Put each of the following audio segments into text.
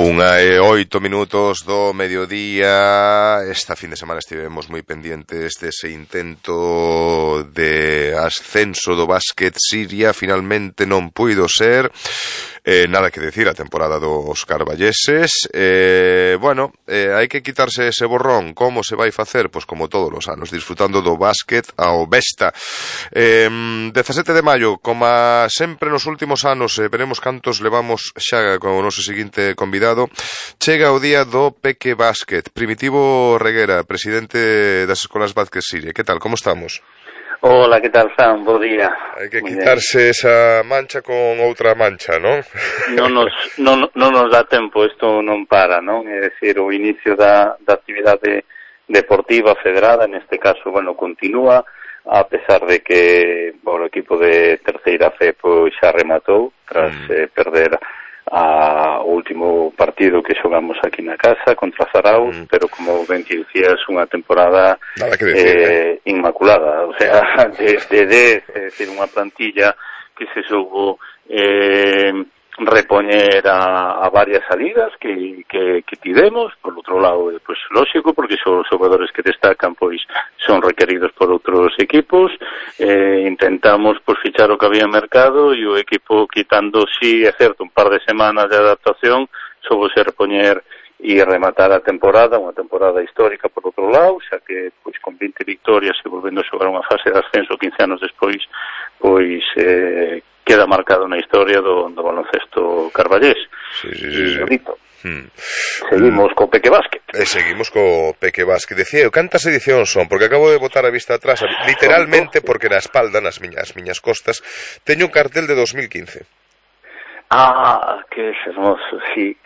8 minutos do mediodía. Esta fin de semana estivemos moi pendentes dese intento de ascenso do básquet Siria. Finalmente non puido ser. Nada que decir a temporada dos carballeses. Hai que quitarse ese borrón. Como se vai facer? Pois como todos os anos, disfrutando do básquet ao besta. 17 de maio, como sempre nos últimos anos, veremos cantos levamos xa con o noso seguinte convidado. Chega o día do Peque Básquet. Primitivo Reguera, presidente das Escolas Básquet Siria. Que tal, como estamos? Hola, que tal, Sam? Bo día. Hai que quitarse esa mancha con outra mancha, non? Non nos dá tempo, isto non para, non? É dicir, o inicio da actividade deportiva federada, neste caso, continúa, a pesar de que o equipo de terceira fe pois xa rematou, tras perder o último partido que xogamos aquí na casa contra Zarauz, pero como ben que dicías, unha temporada inmaculada, o sea, de 10, é dicir, unha plantilla que se soubo repoñer a varias salidas que tivemos. Por outro lado, pois lógico, porque son os xogadores que destacan, pois son requeridos por outros equipos. Intentamos pois fichar o que había en mercado, e o equipo, quitando, sí, é certo, un par de semanas de adaptación, soubose repoñer e rematar a temporada, unha temporada histórica por outro lado, xa que pois con 20 victorias e volvendo a xogar unha fase de ascenso 15 anos despois, pois queda marcado na historia do baloncesto carballés. Sí. Seguimos co Peque Básquet. Seguimos co Peque Básquet. Decía eu, cantas edicións son? Porque acabo de botar a vista atrás, literalmente, porque na espalda, nas miñas costas, teño un cartel de 2015. Que hermoso, sí.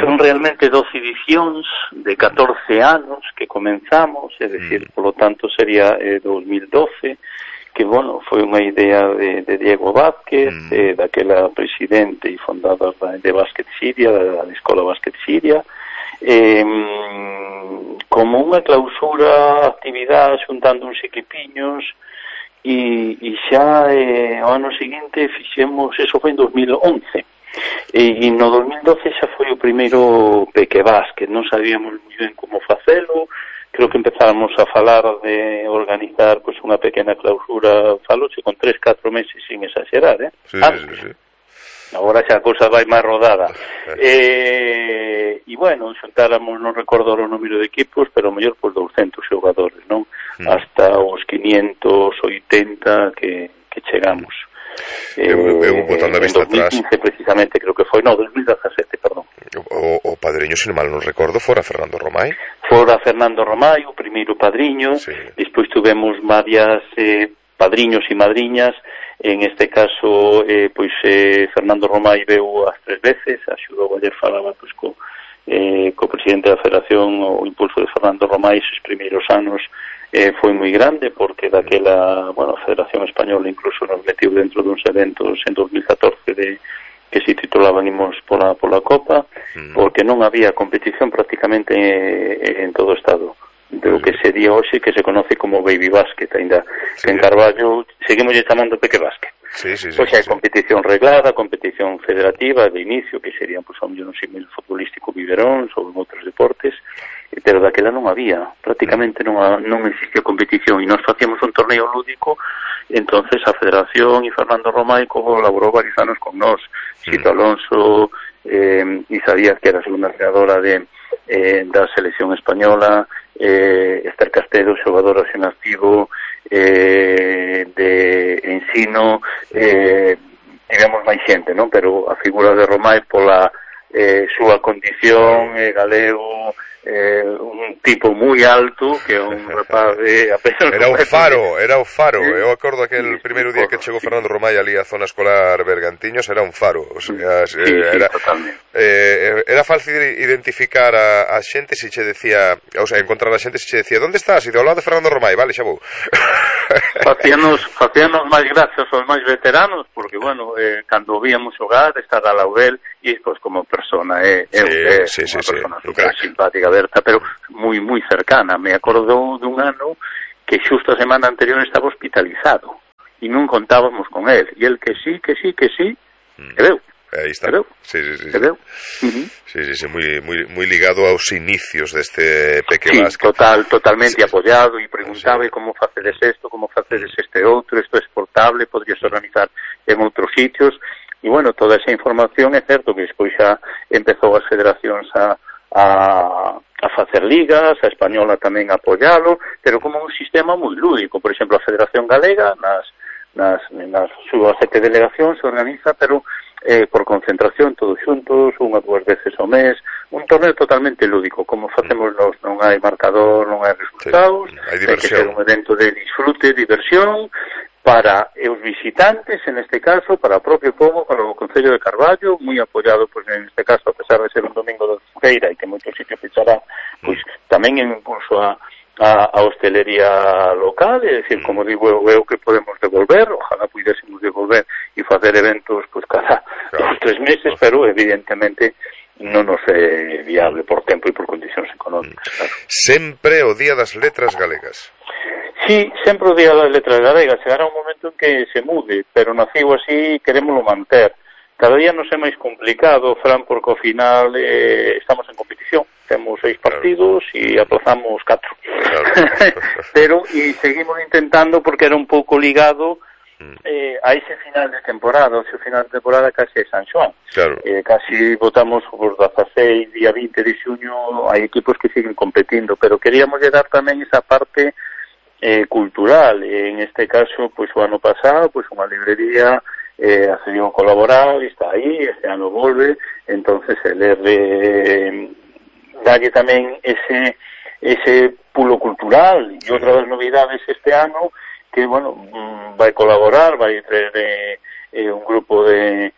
Son realmente 12 edicións de 14 anos que comenzamos, é dicir, polo tanto sería 2012, que, foi unha idea de Diego Vázquez, daquela presidente e fundador de Básquet Siria, da Escola Básquet Siria, como unha clausura, actividade, xuntando uns equipiños, e xa ao ano seguinte fixemos, eso foi en 2011, e no 2012 xa foi o primeiro Peque Básquet. Non sabíamos moi ben como facelo. Creo que empezamos a falar de organizar pois unha pequena clausura, faloche con 3-4 meses sin exagerar, Sí. Agora xa a cousa vai máis rodada. Xuntáramos, non recordo o número de equipos, pero mellor por 200 xogadores, non? Hasta os 580 que chegamos. Eu botando a vista atrás. En 2015 precisamente, creo que foi, 2017, perdón. O padriño, se non mal non recordo, fora Fernando Romai. Fora Fernando Romai, o primeiro padriño. Sí. Despois tuvemos varias padriños e madriñas. En este caso, Fernando Romai veu as 3 veces, axudou, ayer falaba co presidente da Federación. O impulso de Fernando Romai esos primeiros anos foi moi grande, porque daquela, a Federación Española incluso nos metiu dentro duns eventos en 2014 que se titulaban Imos pola Copa, porque non había competición prácticamente en todo o Estado do que sería hoxe, que se conoce como Baby Básquet, ainda que en Carballo seguimos chamando Peque Básquet. Pois hai competición reglada, competición federativa de inicio, que serían, pois, un símil futbolístico biberóns ou en outros deportes, pero daquela non había, prácticamente non existía competición, e nós facíamos un torneo lúdico. Entonces a Federación e Fernando Romai colaborou varios anos con nós. Sito Alonso, Isa Díaz, que era a segunda entrenadora da selección española, Esther Castelo, xogadora en activo de ensino, tivemos máis xente, non? Pero a figura de Romai, pola súa condición, galego, un tipo moi alto, que é un rapaz era o faro. Eu acordo aquel primeiro día que chegou Fernando Romai ali á zona escolar Bergantiños, era un faro, o sea, era fácil identificar a xente se che decía, o sea, encontrar a xente se che decía, onde estás? E ao lado de Fernando Romai, vale, xa vou. Facíanos máis gracias aos máis veteranos, porque, cando víamos xogar, estar a Laurel, e pois como persona é unha persona super simpática, aberta, pero moi cercana. Me acordo dun ano que xusto a semana anterior estaba hospitalizado e non contábamos con él, e el que sí, e veu. Aí está. Sí. Moi ligado aos inicios deste Pequebásquet. Totalmente apoiado, e preguntaba como facedes isto, como facedes este outro, isto é exportable, podrías organizar en outros sitios, e bueno, toda esa información é certo que despois xa empezou as federacións a facer ligas, a española tamén a apoialo, pero como un sistema moi lúdico. Por exemplo, a Federación Galega nas súas 7 delegacións se organiza, pero por concentración, todos xuntos, 1 ou 2 veces ao mes, un torneo totalmente lúdico, como facemos nós, non hai marcador, non hai resultados, hai que ser un evento de disfrute, diversión, para os visitantes, en este caso, para o propio povo, para o Concello de Carballo, moi apoiado, pois, en este caso, a pesar de ser un domingo de feira e que moitos sitios pechará, pois, tamén en impulso a hostelería local, é dicir, como digo, eu que podemos devolver, ojalá puidésemos devolver e facer eventos, pois, cada 2 3 meses, pero, evidentemente, non nos é viable por tempo e por condicións económicas. Claro. Sempre o Día das Letras Galegas. Sí, sempre o Día das Letras Galegas. Chegará un momento en que se mude, pero nacido así, querémolo manter. Cada día nos é máis complicado, Fran, porque ao final estamos en competición. Temos 6 partidos e aplazamos 4. Pero, e seguimos intentando, porque era un pouco ligado a ese final de temporada. O seu final de temporada casi é San Xoán. Claro. Casi votamos por 16, día 20 de xuño, hai equipos que siguen competindo, pero queríamos dar tamén esa parte cultural. En este caso, pois o ano pasado, pois unha librería accedió a colaborar, está aí, este ano volve, entonces el dalle tamén ese pulo cultural. E outra das novidades este ano, que, bueno, vai colaborar, vai traer un grupo de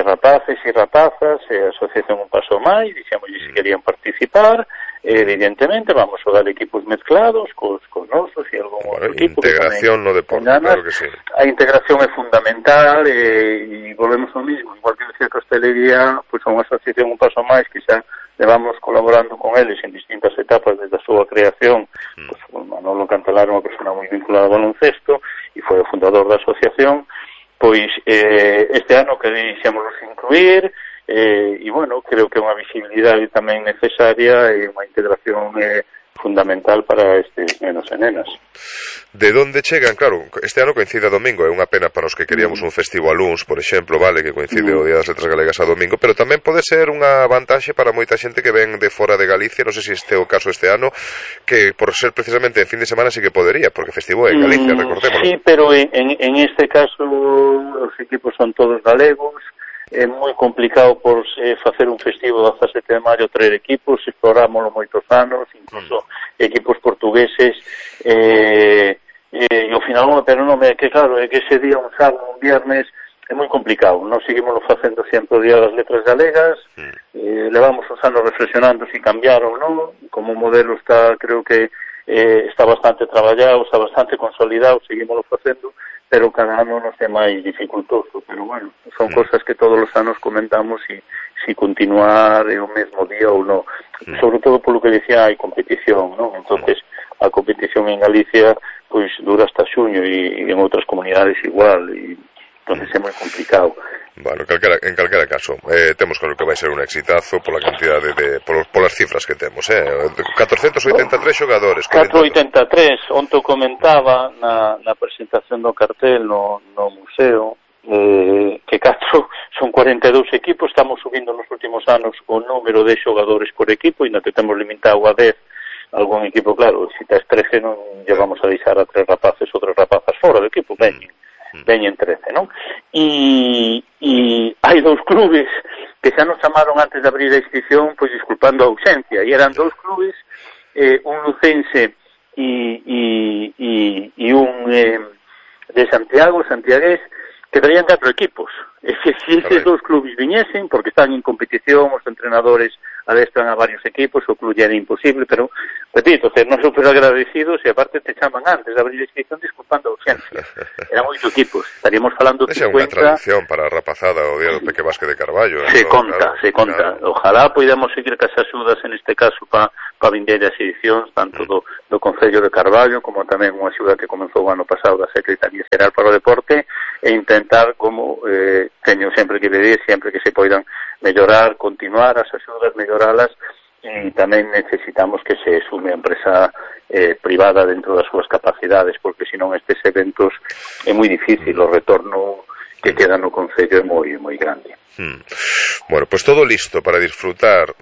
rapaces e rapazas, a asociación Un Paso Máis, dixemos se querían participar. Evidentemente vamos a dar equipos mezclados cos nosos e algún outro equipo. Integración no deporte, claro que sí. A integración é fundamental, e volvemos ao mismo, igual que decía que a hostelería, pois a unha asociación Un Paso Máis, que xa levamos colaborando con eles en distintas etapas desde a súa creación. Pois Manolo Cantalar é unha persona moi vinculada ao baloncesto e foi o fundador da asociación. Pois este ano queríamos incluir, e, bueno, creo que é unha visibilidade tamén necesaria e unha integración fundamental para estes nenos e nenas. De onde chegan? Claro, este ano coincide a domingo, é unha pena para os que queríamos un festival luns, por exemplo, vale, que coincide o Día das Letras Galegas a domingo, pero tamén pode ser unha vantaxe para moita xente que ven de fora de Galicia, non sei se este é o caso este ano, que por ser precisamente en fin de semana sí que podería, porque festivo é en Galicia, recordémoslo. Sí, pero en este caso os equipos son todos galegos. É moi complicado por facer un festivo do 17 de maio, traer equipos, explorámoslo moitos anos, incluso equipos portugueses, e ao final pero non é que, claro, é que ese día, un sábado, un viernes, é moi complicado. Nós seguimos facendo sempre o Día das Letras Galegas, levamos uns anos reflexionando se cambiar ou non, como modelo está, creo que está bastante traballado, está bastante consolidado, seguimos facendo, pero cada ano nos é máis dificultoso, pero bueno, son cosas que todos os anos comentamos si continuar o mesmo día ou non. Sobre todo polo que decía, hai competición, non? Entonces, a competición en Galicia pois dura hasta xuño e en outras comunidades igual, e entonces é moi complicado. Bueno, en calquera caso, temos claro que vai ser un exitazo pola cantidade polas cifras que temos, 483 xogadores. 483, onto comentaba na presentación do cartel no museo, que 4 son 42 equipos, estamos subindo nos últimos anos o número de xogadores por equipo, e non te temos limitado a 10, algún equipo, claro, se tes 13 non llevamos a deixar a 3 rapaces ou 3 rapazas fora do equipo, veñen 13, non? E hai 2 clubes que xa nos chamaron antes de abrir a inscripción, pois disculpando a ausencia, e eran 2 clubes, un lucense e un de Santiago, santiagués, que traían 4 equipos. E se eses 2 clubes viñesen, porque están en competición, os entrenadores adestran a varios equipos, o club era imposible, pero, repito, non super agradecidos, e aparte te chaman antes de abrir a inscripción disculpando a ausencia. Eran 8 equipos, estaríamos falando 50... Esa é unha tradición para a rapazada o Día do Pequebásquet de Carballo. Se conta. Ojalá podamos seguir cas axudas en este caso para para vindeiras edicións, tanto do Concello de Carballo, como tamén unha axuda que comenzou o ano pasado da Secretaría Xeral para o Deporte, e intentar, como teño sempre que pedir, sempre que se poidan mellorar, continuar as axudas, melloralas, e tamén necesitamos que se sume a empresa privada dentro das súas capacidades, porque senón estes eventos é moi difícil, o retorno que queda no Concello é moi grande. Bueno, pues todo listo para disfrutar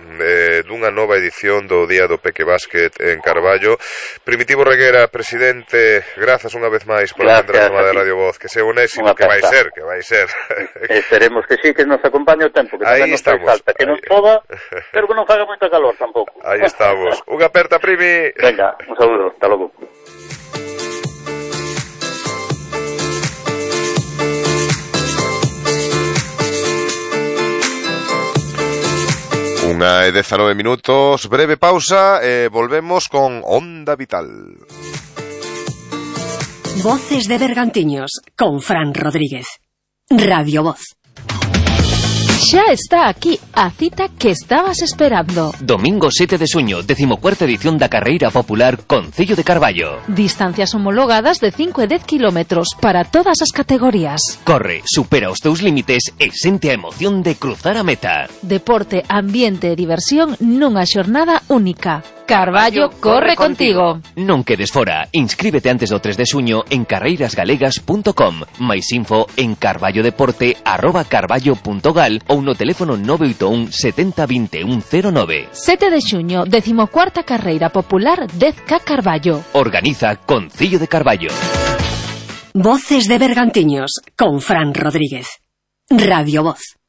dunha nova edición do Día do Peque Básquet en Carballo. Primitivo Reguera, presidente, grazas unha vez máis por atender a chamada de Radio Voz, que sea un éxito, que vai ser. Esperemos que sí, que nos acompañe o tempo, que tamén nos fai falta, que non toda, pero que non faga moita calor tampouco. Aí estamos. Unha aperta, Primi. Venga, un saludo, hasta logo. 1:19 minutos, breve pausa, volvemos con Onda Vital. Voces de Bergantiños, con Fran Rodríguez. Radio Voz. Xa está aquí a cita que estabas esperando. Domingo 7 de xuño, 14ª edición da Carreira Popular Concello de Carballo. Distancias homologadas de 5 e 10 kilómetros para todas as categorías. Corre, supera os teus límites e sente a emoción de cruzar a meta. Deporte, ambiente e diversión nunha xornada única. Carballo corre contigo. Non quedes fora. Inscríbete antes do 3 de xuño en carreirasgalegas.com. Mais info en carballodeporte@carballo.gal ou no teléfono 981 70 21 09. 7 de xuño, 14ª Carreira Popular 10K Carballo. Organiza Concello de Carballo. Voces de Bergantiños, con Fran Rodríguez. Radio Voz.